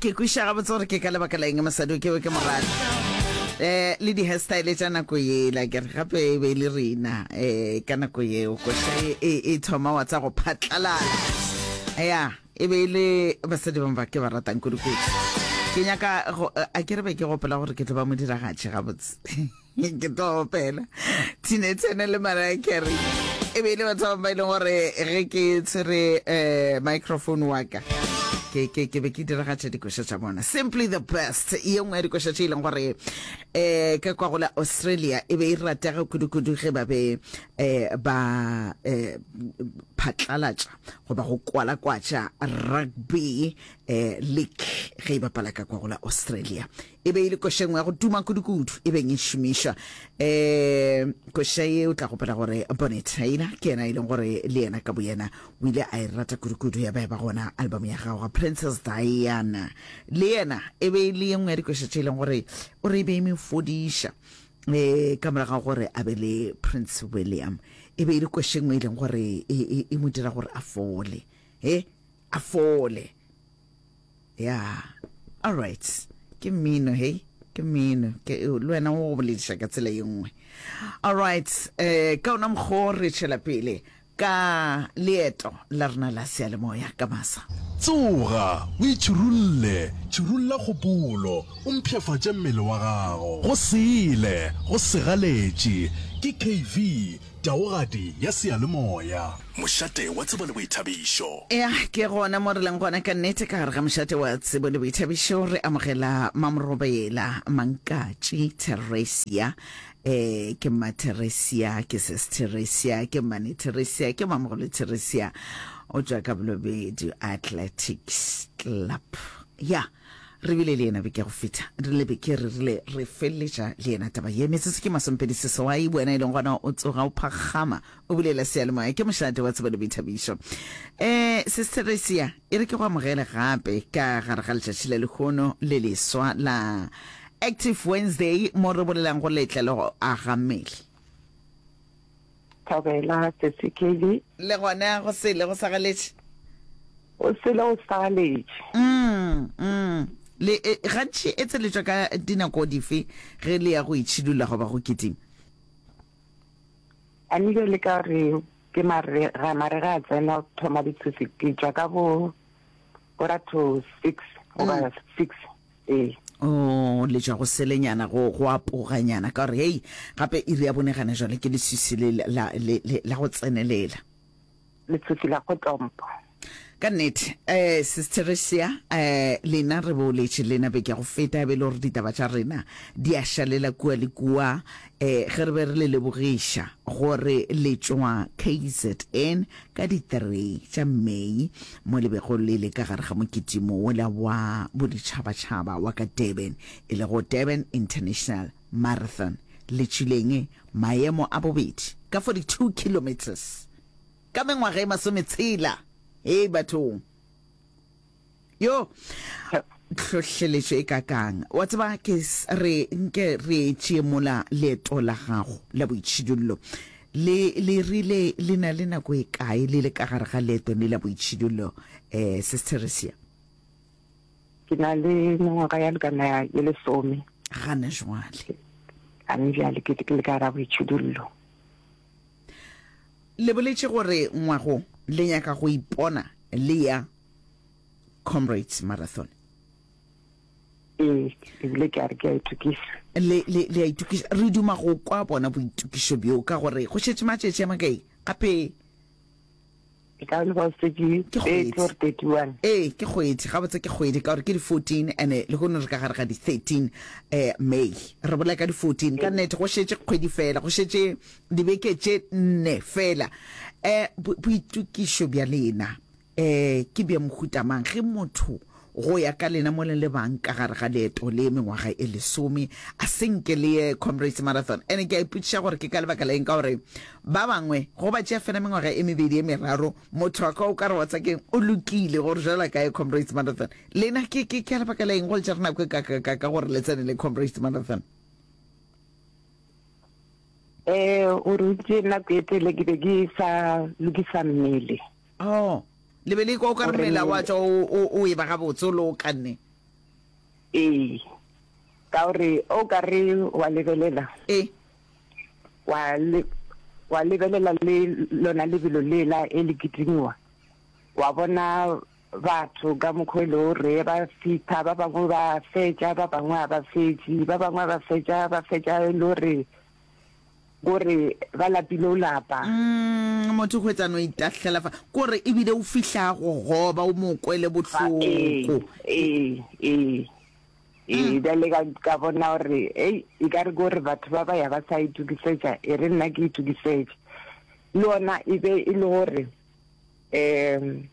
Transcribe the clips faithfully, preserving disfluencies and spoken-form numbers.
Ke kwešiša gabotse gore ke ka lebaka la eng mosadi o ke be ke mo rata. Eh, le di-hairstyle tša nako yela, ke re gape e be e le rena eh, ka nako yeo koša e, e, e thoma wa tsa go phatlalala. Ya, e be e le basadi bangwe ba ke ba ratang kudu-kudu. Ke nyaka go, a ke re be ke gopola gore ke tlo ba modiragatši gabotse. Ke tlo opela Tina Turner le Mariah Carey. E be e le batho ba ba e leng gore ge ke tshwere um microphone wa ka ke ke ke be ke diragatša dikoša tša bona. Simply the Best, ye nngwe ya dikoša tše e leng gore um ka kwa go la Australia e be e ratega kudu-kudu ge ba be um ba um phatlalatša goba go kwalakwatša rugby um league ge e bapala ka kwa go la Australia. E be e le koša e nngwe ya go tuma kudu-kudu e beng e šomišwa. Um koša ye o tla gopola gore Bonnie Tyler ke yena e leng gore le yena ka boyena o ile a e rata kudu-kudu ya ba ya ba gona album ya gagwe. Princess Diana le yena e be e le ye nngwe ya dikoša tše e leng gore o re e be e mo fodiša um ka morago ga gore a be le Prince William. E be e le koša e nngwe e leng gore e, e, e mo dira gore a fole, he a fole. Ya, all right, ke mmino, hei, ke mmino, ke le wena o go bolediša ka tsela ye nngwe. All right, eh, ka ona mokgwa o re tšwela pele ka leeto la rena la seyalemoya ka masa. Tsoga, o itšhirulle, tšhirulla kgopolo, o mpshafatše mmele wa gago. Go sele, go segaletše, ke K V, taogadi ya seyalemoya. Mošate wa tsebo le boithabišo. Ea, ke gona mo re leng gona ka nnete ka gare ga mošate wa tsebo le boithabišo. Re amogela Mamorobela Mankatši Theresia. E, ke Mma Theresia, ke Sis Theresia, ke Mmane Theresia, ke Mamogolo Theresia. O tšwa ka Bolobedu Athletics Club. Ya, re bile le yena beke ya go feta. Re le beke re rile re feleletša le yena taba ye. Metsotso ke masomepedi seswai, wena e leng gona o tsoga o phakgama o bulela seyalemoya. Ke mošate wa tsebo le boithabišo. E, Sis Theresia, e re ke go amogele gape ka gare ga letšatši la lehono le leswa la Active Wednesday mo re bolelang go letla le go aga mmele. Thobela, Sesi Kelly. Le gona go sele go sagaletše. Go sele go sagaletše. Mm, mm. Le e, gantši e tseletšwa ka dinako dife ge le ya go itšhidulla goba go kitima? A nke le ka re ke marega, marega a tsena go thoma ditshosi, ke tšwa ka bo quarter to six goba six, ee. Oh, le tšwa go selenyana, go, go apoganyana, ka gore hei, gape iri ya bone gana jwale ke leswiswi le la, le, le, la go tsenelela. Leswiswi la go tompo. Ka nnete, eh, Sis Theresia, eh, lena re boletše lena beke ya go feta, e be e le gore ditaba tša rena di a šalela kua le kua, eh, ge re be re le lebogiša gore le tšwa K Z N ka di three tša May mo le bego le le ka gare ga mokitimo wola wa boditšhabatšhaba wa ka Durban, e lego Durban International Marathon, le tšwileng maemo a bobedi ka forty-two kilometres ka mengwaga e masometshela. Hei bathong! Yo, tlhohleletšo e kakang. Wa tseba, ke re nke re tšee mola leeto la gago la boitšhidullo. Le, le rile le na le nako e kae le le ka gare ga leeto le la boitšhidullo, eh, Sis Theresia? Ke na le mengwaga ya lekana ye lesome. Gana jwale. Gane bjale ke, ke le ka gare ga boitšhidullo. Le boletše gore ngwago le nyaka go ipona le ya Comrades Marathon. Ee, ebile ke a re ke a itokiša. Le, le, le a itokiša. Re duma go kwa bona boitokišo bjo, ka gore go šetše matšatši a makae gape? E ka ba šetše Ke thirty kgwedi. or thirty-one. Ee, ke kgwedi. Gabotse ke kgwedi, ka gore ke di fourteen, and lehono re ka gare ga di thirteen eh, May. Re bolela ka di fourteen. Ka nnete go šetše kgwedi fela, go šetše dibeke tše nne fela. Eh, bo, boitokišo bja lena um ke bja mohuta mang? Ge motho go ya ka lena mo le le bang ka gare ga leeto le mengwaga e lesome a se nke le ye Comrades Marathon, ene ke a ipotšiša gore ke ka lebaka la eng, ka gore ba bangwe go ba tšea fela mengwaga e mebedi e meraro, motho a ka o ka re wa tsa keng o lokile gore jwale a ka ye Comrades Marathon. Lena ke ke ka lebaka la eng go le tšere nako e kakakaka gore le tsene le Comrades Marathon? Eh, o rutše nako e tele ke be ke sa lokisa mmele. Oh, le be le ikwa o ka re Gore mmele wa mmele tšwa o, o, o e ba gabotse o le o kanne. Ee, ka gore o ka re wa lebelela. E. Wa le, wa lebelela le lona lebelo lela e le kitimiwa, wa bona batho ka mokgwa e le gore ba fitha, ba bangwe ba fetša, ba bangwe ga ba fetše, ba bangwe ba fetša, ba fetša e le gore kore ba lapile o lapa. Mm, motho hwetsa no itahlela fa kore ebile o fihla go goba o mo kwele bohloko. Ee, ee, ee, bjale ka ka bona gore ei e ka re kore batho ba ba ya ba sa itokisetša, e re nna ke itokisetše. Le ona e be e le gore um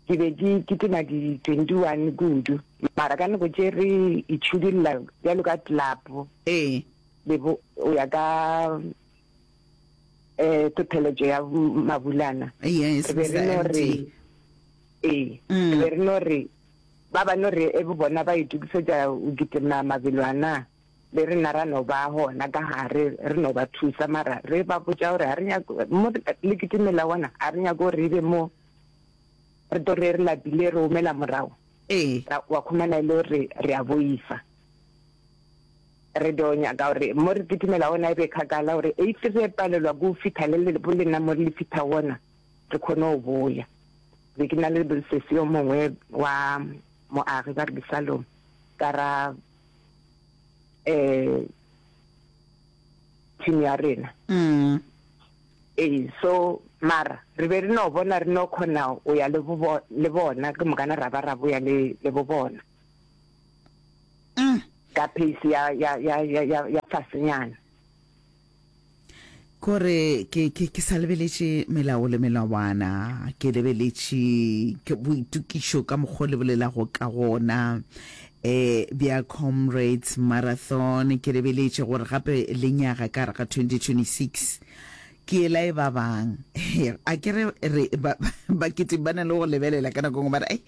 ke be ke kitima di twenty one kudu, mara ka nako tše re itšhidulla bjalo ka club. Ee. Le bo o ya ka eh tlhotlheletšo ya Mabulana. Yes, Re be re no re ee, Mm. re be re no re ba ba no re e bo bona ba itokisetša o kitima mabelo ana, le rena ra no ba gona ka gare re no ba thusa, mara re ba botša gore ga re nyako mo le kitimela gona, ga re nyako gore ebe mo re tlo re re lapile re omela morago. Ee. Ra wa khumana e le gore re a boifa. Re do nyaka gore mo re kitimela gona e be kgakala gore if re palelwa ke go fihla le le bo lena mo le fihla gona, re kgone go boya. Be ke na le sesi yo mongwe wa moagi ba re ke Salome ka ra eh team ya rena. Mm. Ee, so mara re be re no bona re no kgona o ya le bo le bona ke mokana ra ba ra boya le le bo bona. Mm. Ka pace ya ya ya ya ya, ya fasenyana. Kore ke ke ke sa lebeletše melao le melawana, ke lebeletše ke boitokišo ka mokgwa le bolelago ka gona eh bja Comrades Marathon, ke lebeletše gore gape le nyaga ka gare ga twenty twenty-six ke ela e ba bang. A ke re re ba bakete ba na le go lebelela ka nako nngwe ba re ai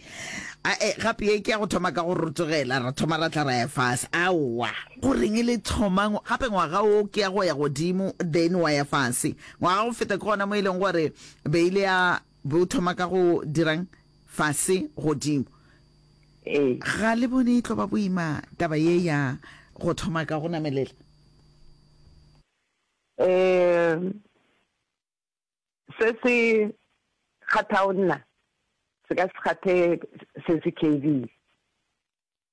a e gape ye ke ya go thoma ka go rotogela, ra thoma ra tla ra ya fase. Aowa, goreng e le thoma gape ngwaga o ke ya go ya godimo then wa ya fase. Ngwaga go feta ke gona mo e leng gore be ile ya bo thoma ka go dirang fase godimo. Ee. Ga le bone e tlo ba boima taba ye ya go thoma ka go namelela? Eh, se se kgathago nna se ka se kgathe se se K V,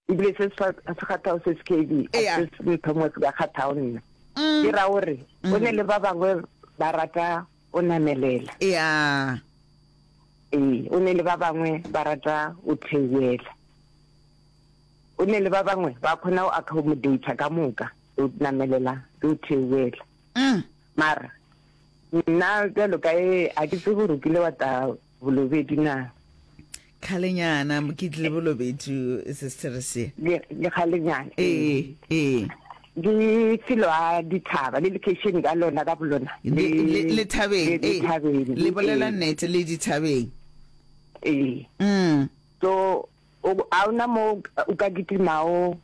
ebile se se kgathago se se K V a se se ntho se ka kgathago nna. Ke ra gore o ne le ba bangwe ba rata o namelela. Ya. Ee, o ne le ba bangwe ba rata o theoela. O ne le ba bangwe ba kgona go accommodate ka moka, o namelela le o theoela. Mm. Mara nna bjalo ka e a ke tsebe gore o kile wa ta Bolobedu na? Kgalenyana ke tlile Bolobedu sister se. Le le kgalenyana. Ee, ee. Ke felo a dithaba le location ka lona ka bolona. Le le le thabeng. Le dithabeng. Le bolela nnete le dithabeng. Ee. Mm. So o a ona mo o ka kitimao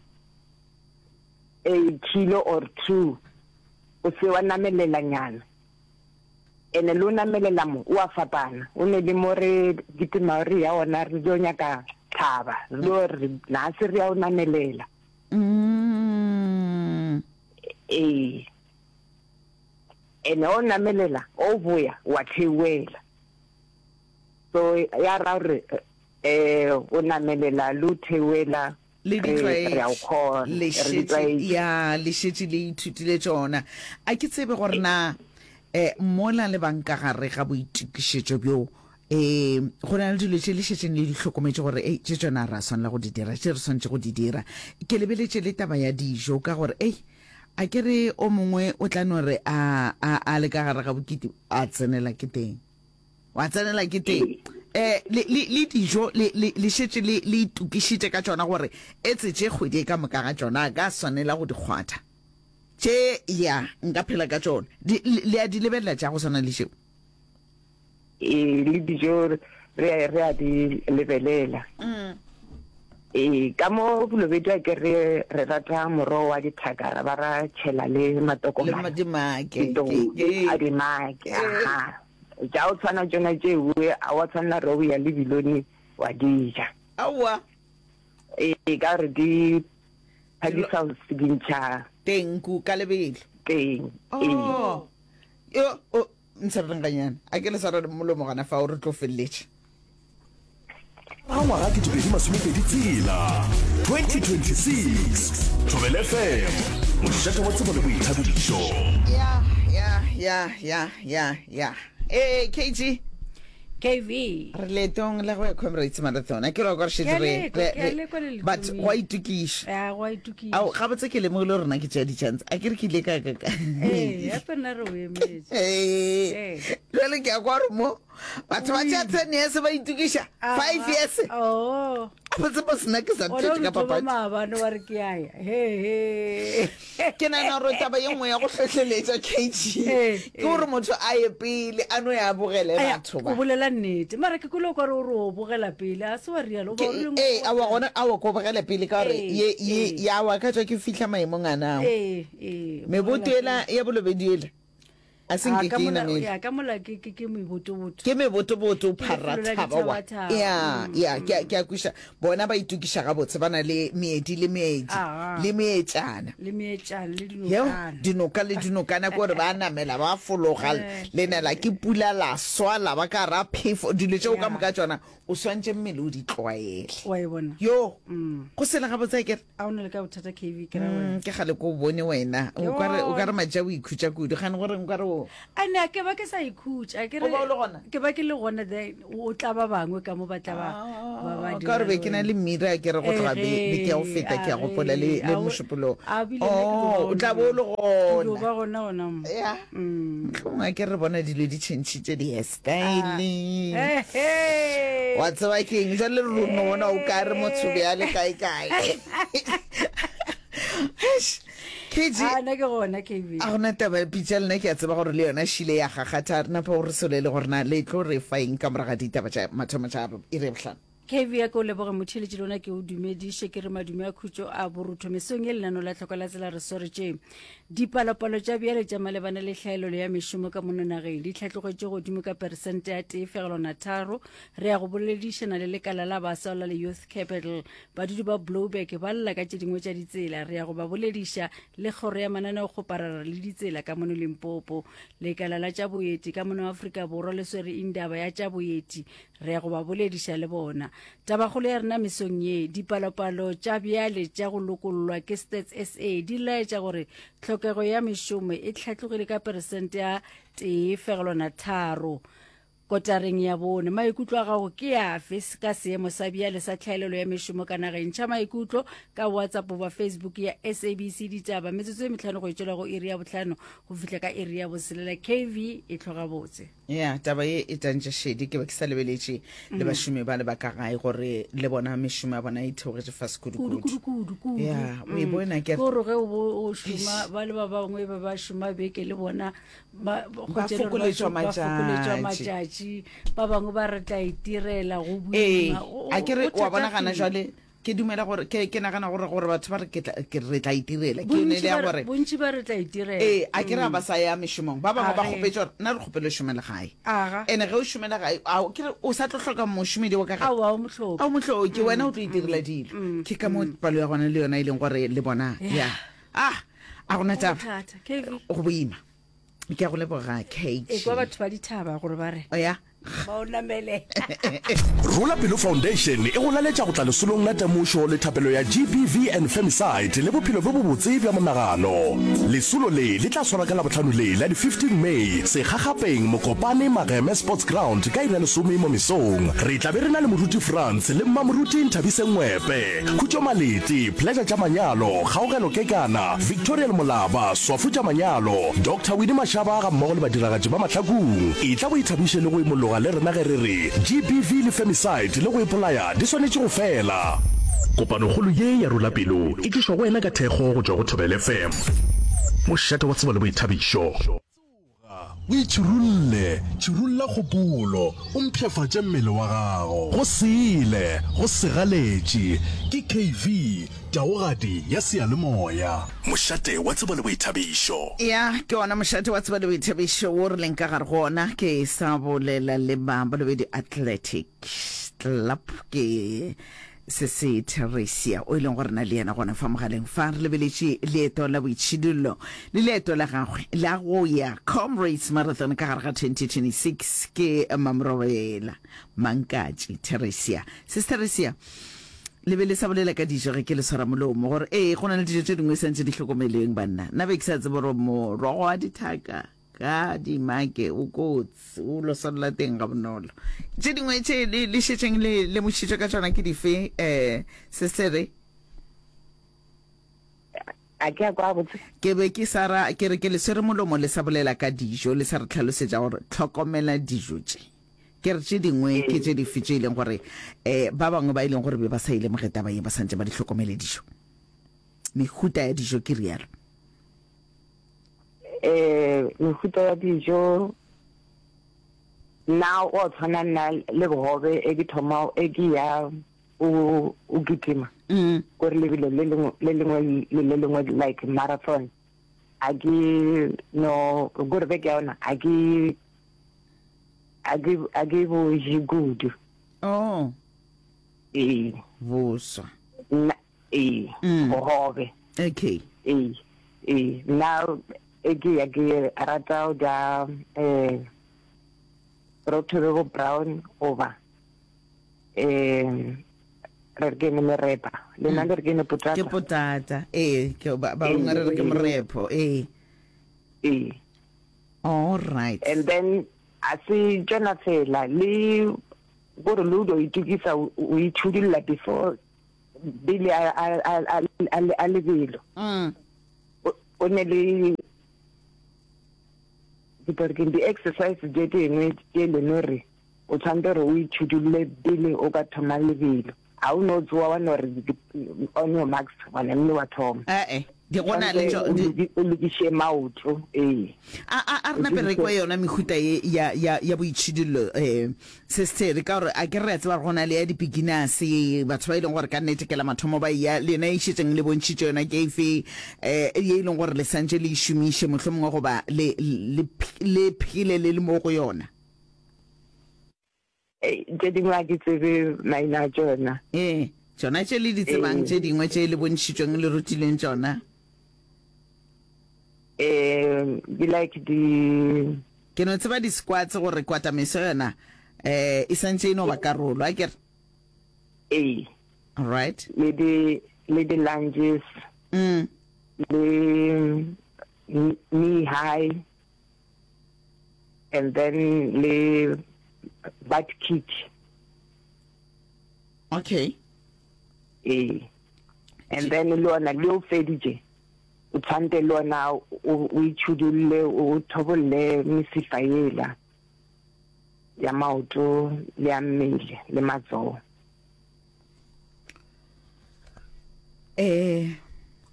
a kilo or two o se wa namelela nyana. Ene le o namelela mo o a fapana, o ne le mo re kitima re ya ona re dio nyaka thaba, re dio re na se re ya o namelela. Mm. Ee. Ene o namelela o boya wa theoela. So ya ra re eh o namelela le o theoela le di re a o kgona, le re di šetše tlwaetše. ya le šetše le ithutile tšona. A ke tsebe gore na eh mola le bang ka gare ga boitokišetšo bjo eh go na le dilo tše le šetšeng le di hlokometše gore ei tše tšona ra swanela go di dira, tše re swanetše go di dira. Ke lebeletše le taba ya dijo ka gore ei a ke re o mongwe o tla no re a a a le ka gare ga bokete a tsenela ke teng, wa tsenela ke teng. Eh le le le dijo le le le šetše le le itokišitše ka tšona gore etse tše kgwedi e ka moka ga tšona a ka swanela go di kgwatha tše ya nka phela ka tšona. Di le a di lebelela tša go swana le tšeo? Ee, le dijo re re a di lebelela. Ee, ka mo Bolobedu a ke re re rata morogo wa dithaka ba ra tšhela le Le matokomane. dimake Ke a dimake, aha. Tša o tshwana tšona tšeo a wa tshwanela re o ya le bilone wa di ja. Aowa. Ee, ka gore di phakisa go dintšha Teng ku ka lebelo. Teng. Ee. Oh. Yo, o ntshwareleng ganyane. A ke le swara le molomo gona fao re tlo feleletša. Ga ngwaga ketepedi masomepedi tshela, twenty twenty six, Thobela F M, mošate wa tsebo le boithabišo. Ya, ya, ya, ya, ya, ya. Ee, K G. K V. Re leetong la go ya Comrades Marathon. A ke re wa kwa re Ke šetše a re lekwa, re ke a re lekwa le le but thomile. go a itokiša. Ya, go a itokiša. Ao, gabotse ke lemogile gore nna ke tšea di-chance. A ke re ke ile ka ka ka. Ee, gape nna re o emetše. Ee. Ee. Jwale ke a kwa gore mo batho ba tšea ten years ba itokiša, five years. Oh. Gabotse mo sena ke sa Ona thetše o ka re thoma papadi. maabane wa re ke a ya. He he. Ke nagana gore taba ye nngwe ya go hlohleletša K G Ee, ke gore motho a ye pele a no ya bogele Aya, batho o ba. bolela nnete mara ke kule o kare o re o bogela pele a se wa rialo o ba Ke o rileng ee, o aowa gona aowa ko bogela pele ka gore Ee, ye ye ee. ya wa ka tswa ke fihla maemong a nao. Ee, ee, o Meboto bogela ela ya bolobedi ela a se Ah, nke ka ke e mola- namele. ya, ka mola ke ke ke mebotoboto. Ke mebotoboto Ke lefelo la pharathaba wa. dithabathaba. Ya, Mm, ya, ke a ke a kweša. Bona ba itokiša gabotse ba na le meedi le meedi Aha. le meetšana. Le meetšana le Yeo dinokana. Dinoka le dinokana ke gore ba namela ba fologa Eh. le nela ke pula la swa la ba ka ra phefo dilo tšeo ka Ya. moka tšona o swantše mmele o di tlwaele. Wa e bona. Yo Mm. go sela gabotse akere. A o na le ka bothata K V ke ra wena. Mm, ke gale ko o bone wena o kare o kare matša o ikhutša kudu gane gore nkare o A ne ke ba ke sa ikhutša ke re O ba o le gona? Ke ba ke le gona then o tla ba bangwe ka mo ba tla ba ba ba Ah, ka gore be ke na le mmira ke re go tloga be be ke ya go feta ke ya gopola le le mošupologo. Oh, o tla bo o le gona. gona. Ba gona gona mo. Ya. Mm. Mohlomongwe a ke re bona dilo di tšhentšhitše di-hairstyle. Eh, eh. Wa tseba ke eng jale re no bona o ka re motho bjale kae kae. Eish, K G. Ah, nna ke gona K V. A gona taba ya pitša lena ke a tseba gore le yona šile ya gagatha re napa gore solele gore na le tlo re fa eng ka morago ga ditaba tša mathomo tša iri ya bohlano. K V ya ke o leboge motheletši lona ke o dumediše ke re madume a khutšo a borutho mesong ye lenano la tlhoko la tsela re swaretše dipalopalo tša bjale tša malebana le tlhaelelo ya mešomo ka mono nageng di tlhatlogetše godimo ka peresente ya tee fegelwana tharo. Re ya go boledišana le lekala la baswa la le Youth Capital. Badudi ba Blouberg ba lla ka tše dingwe tša ditsela. Re ya go ba bolediša le kgoro ya mananeokgoparara le ditsela ka mono Limpopo. Lekala la tša boeti ka mono Afrika Borwa le swere indaba ya tša boeti. Re ya go ba bolediša le bona. Tabakgolo ya rena mesong ye, dipalopalo tša bjale tša go lokollwa ke Stats S A di laetša gore tlhokego ya mešomo e tlhatlogile ka peresente ya tee fegelwana tharo kotareng ya bone. Maikutlo a gago ke afe ka seemo sa bjale sa tlhaelelo ya mešomo ka nageng? Ntšha maikutlo ka WhatsApp goba Facebook ya S A B C Ditaba. Metsotso e metlhano go etšelwa go iri ya bohlano go fihla ka iri ya boselela. K V e tloga botse. Ya taba ye e tantše šedi ke be ke sa lebeletše le bašomi ba le ba ka gae gore le bona mešomo ya bona e theogetše fase kudu. kudu-kudu. Kudu kudu kudu. Ya o e bona ke ke gore ge o bo o šoma ba le ba bangwe ba ba šoma beke le bona ba Ba kgwetše le gore ba fokoletšwa šo- ba fokoletšwa matšatši. Matšatši ba bangwe ba re tla itirela go Ee boima. Go- a ke re go wa bona gana thatafile. jwale ke dumela gore ke ke nagana gore gore batho ba re ke tla- ke re tla itirela ke yone Bontši le ya ba re- gore bontši ba re tla itirela. Ee a ke re a ba sa ya mešomong ba bangwe ba Age. kgopetse gore nna re kgopele o šomele gae. Aga. Ene ge o šomela gae ao ke re o sa tlo hloka mošomedi wa ka gae. Aowa o mohloki. A o mohloki wena o tlo itirela dilo ke ka mo palo ya gona le yona e leng gore le bona ya ah a gona taba. Thata K V. Go boima ke a go leboga E kwa K G. batho ba dithaba gore ba re O ya ba o namele. Rola Pelo Foundation e go laletša go tla lesolong la temošo le thapelo ya G B V and Femicide le bophelo bjo bobotse bja monagano. Lesolo le le tla swarwa ka Labohlano le la di fifteen May Segagapeng Mokopane Mageme Sports Ground ka iri ya lesome mo mesong. Re tla be re na le Moruti France le Mmamoruti Nthabiseng Ngwepe, Khutšo Malete, Pleasure tša Manyalo, Kgaogelo Kekana, Victoria Molaba, Swafu tša Manyalo, Doctor Winnie Mashaba ga mmogo le badiragatši ba Mahlakung. E tla bo ithabiše le go imologa le rena ge re re G B V le femicide le go ipolaya di swanetše go fela. Kopanokgolo ye ya Rola Pelo e tlišwa go wena ka thekgo go tšwa go Thobela F M, mošate wa tsebo le boithabišo. O itšhirulle, tšhirulla kgopolo, o mpshafatše mmele wa gago. Go sele, go segaletše, ke K V, taogadi ya seyalemoya. Mošate wa tsebo le boithabišo. Ya ke ona mošate wa tsebo le boithabišo wo re leng ka gare go ona. Ke sa bolela le ba Bolobedi Athletic Club ke Se se Theresia o e leng gore na le yena gona fa mogaleng fa re lebeletše leeto la boitšhidullo le leeto la gagwe la go ya Comrades Marathon ka gare ga twenty twenty six ke Mamrobela Mankatši Theresia. Sis Theresia, le be le sa bolela ka dijo ge ke le swara molomo gore ee go na le dijo tše dingwe santše di hlokomeleng banna. Nna be ke sa tsebe gore morogo wa dithaka ka dimake o kotsi o lo swalela teng ga bonolo. Tše dingwe tše le le šetšeng le lemošitšwe ka tšona ke dife um sestere? A ke a kwa gabotse. Ke be ke sa ra ke re ke le swere molomo le sa bolela ka dijo le sa re tlhalosetša gore hlokomela dijo tše. Ke re tše dingwe ke tše dife tše e leng gore um ba bangwe ba e leng gore be ba sa e lemoge taba ye ba santše ba di hlokomele dijo. Mehuta ya dijo ke realo. Eh, mehuta ya dijo nna o tshwana nna le bogobe e ke thoma e ke ya o o kitima mm. gore lebelo le lengwe le lengwe le le lengwe like marathon a ke no gore beke ya ona a ke a ke a ke bo je kudu. Oh. Ee. Boswa. Nna ee mm. bogobe. Okay. Ee. Ee, nna e ke ya ke rata go ja um borotho bjo bo brown goba um re re ke ene merepa le nna le re ke ene potata ke potata ee ke ba bangwe re re ke morepo ee ee all right and then a se tšona fela le gore le o do itukisa o itšhudulla before pele a a a a lebelo mm o ne le di di-exercise tše dingwe tše leng gore o tshwanetse gore o itšhudulle pele o ka thoma lebelo. Ga o no tsoa wa no re on your marks wa namile wa thoma. Ee, di gona le tšo o lokiše maoto ee. A a a re nape re kwe yona mehuta ye ya ya ya boitšhidullo eh sestere ka gore a ke re a tseba gore go na le ya di-beginners batho ba e leng gore ka nnete ke la mathomo ba ya lena e šetšeng le bontšhitše yona ke efe eh ye e leng gore le santše le e šomiše mohlomongwe goba le le le phele le le mo go yona. Tše dingwe a ke tsebe maina a tšona. Ee, tšona tše le di tsebang tše dingwe tše le bontšhitšweng le rutilweng tšona. Um di like di Ke no tseba di-squats gore kwatameso yona um e santše e no ba karolo, a ke re? Ee. All right. Le di le di lunges. Mm. Le knee high and then le butt kick. Okay. Ee. And then le ona le o feditše o tshwante le ona o itšhudulle o thobolle mesifa yela ya maoto le ya mmele le matsogo. Eh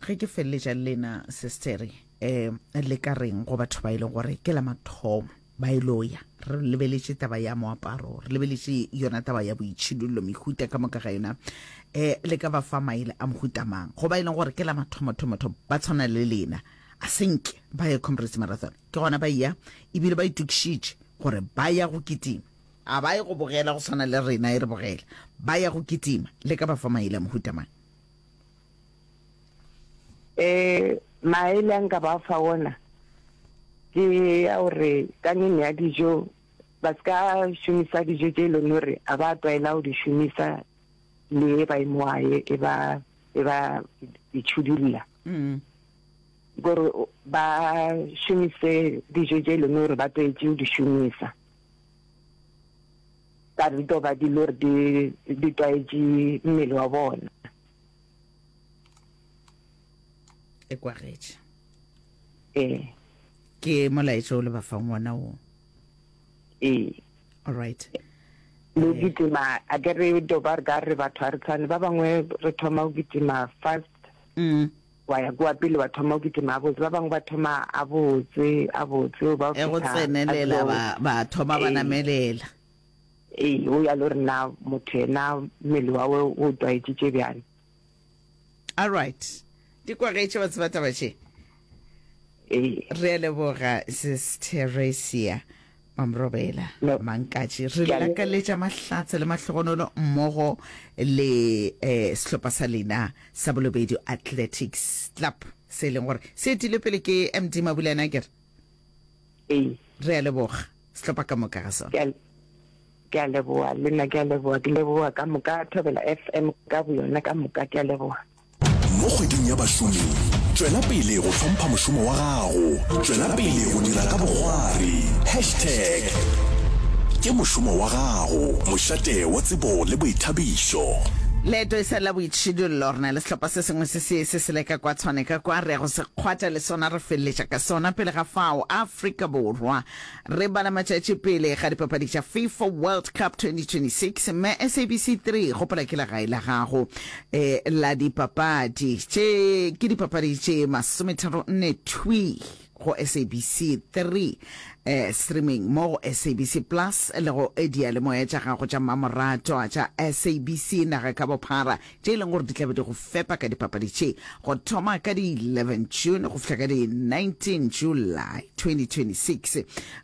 ge ke feleletša le lena sistere eh le ka reng go batho ba e leng gore ke la mathomo ba e lo ya re lebeletše taba ya moaparo re lebeletše yona taba ya boitšhidullo mehuta ka moka ga yona eh le ka ba fa maele a mohuta mang go ba e leng gore ke la mathomo thomo thomo ba tshwana le lena a senke ba ye Comrades Marathon ke gona ba ya ebile ba itokišitše gore ba ya go kitima a ba ye go bogela go tshwana le rena e re bogela ba ya go kitima le ka ba fa maele a mohuta mang Eh maele a nka ba fa ona ke ya gore ka nene ya dijo ba se ka šomisa dijo tše e leng gore a ba tlwaela go di šomisa le ba emoae e ba e ba itšhudulla mm. gore ba šomise dijo tše e leng gore ba tlwaetše go di šomisa ka di tlo ba di le gore di di tlwaetše mmele wa bona e kwagetše ee ke molaetša o le ba fang wona wo ee all right le kitima a ke re do ba re ka re batho a re tshwane ba bangwe re thoma go kitima fast mm. wa ya kua pele wa thoma go kitima a botse ba bangwe ba thoma a botse a botse ba e go tsenelela ba ba thoma ba namelela ee o ya le gore na motho yena mmele wa we o tlwaetšitše bjang all right di kwagetše batho ba taba tše ee re a leboga sis Teresia Mamrobela No. Mankatši, re Ke a le- lakaletša mahlatse le mahlogonolo mmogo le eh, sehlopha sa lena sa Bolobedu Athletics Club se e leng gore se etile pele ke M D Mabulana, kere? Ee. Re a leboga sehlopha ka moka ga sona. Ke a- ke a leboga le nna, ke a leboga, ke leboga ka moka Thobela F M ka boyona ka moka, ke a leboga. Mo kgweding ya bašomi, tšwela pele go hlompha mošomo wa gago, tšwela pele go dira ka bokgwari. Hashtag ke mošomo wa gago. Mošate wa tsebo le boithabišo. Leeto e sa la boitšhidullo, re na le sehlopha se sengwe se se se se leka kwa Tshwane ka kwa, re ya go se kgwatha le sona, re feleletša ka sona. Pele ga fao, Afrika Borwa re bala matšatši pele ga dipapadi tša FIFA World Cup twenty twenty-six, mme S A B C three gopola ke legae la gago eh, la dipapadi tše. Ke dipapadi tše masometharo nne thwi go S A B C three, eh, streaming mo go S A B C Plus le go diyalemoya tša gago tša mmamoratwa tša S A B C naga ka bophara, tše e leng gore di tlabe di go fepa ka dipapadi tše go thoma ka di eleven June go fihla ka di nineteen July twenty twenty-six.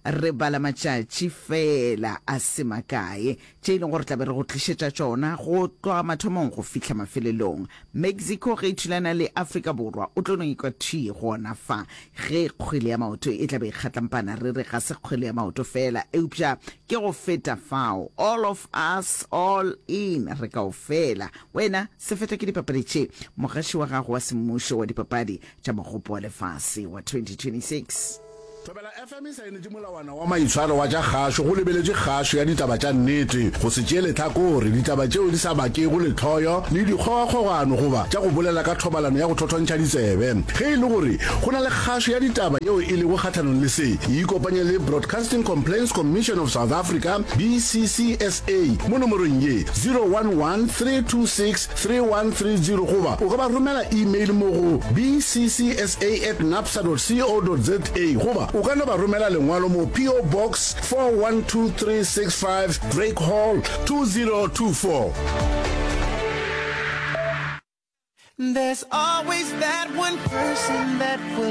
Re bala matšatši fela a se makae tše e leng gore tlabe re go tlišetša tšona go tloga mathomong go fihla mafelelong. Mexico ge e thulana le Afrika Borwa, o tlo no ikwa thwi gona fa ge kgwele ya maoto e tlabe e kgatlampana. Re re ga se kgwele ya maoto fela, eupša ke go feta fao. All of us, all in, re kaofela. Wena se feta ke dipapadi tše, mogaši wa gago wa semmušo wa dipapadi tša mogopo wa lefase wa twenty twenty-six. Thobela F M e saenetše molawana wa maitshwaro wa tša kgašo go lebeletše kgašo ya ditaba tša nnete, go se tšee lehlakore, ditaba tšeo di sa bakego lehloyo le dikgogakgogano goba tša go bolela ka thobalano ya go thothontšha ditsebe. Ge e le gore go na le kgašo ya ditaba yeo e lego kgahlanong le se, ikopanye le Broadcasting Complaints Commission of South Africa, B C C S A, mo nomorong ye zero one one, three two six, three one three zero goba o ka ba romela email mo go B C C S A at nabsa dot co dot za goba o ka no ba romela lengwalo mo P O Box four one two three six five, Drake Hall, two zero two four. There's always that one person that will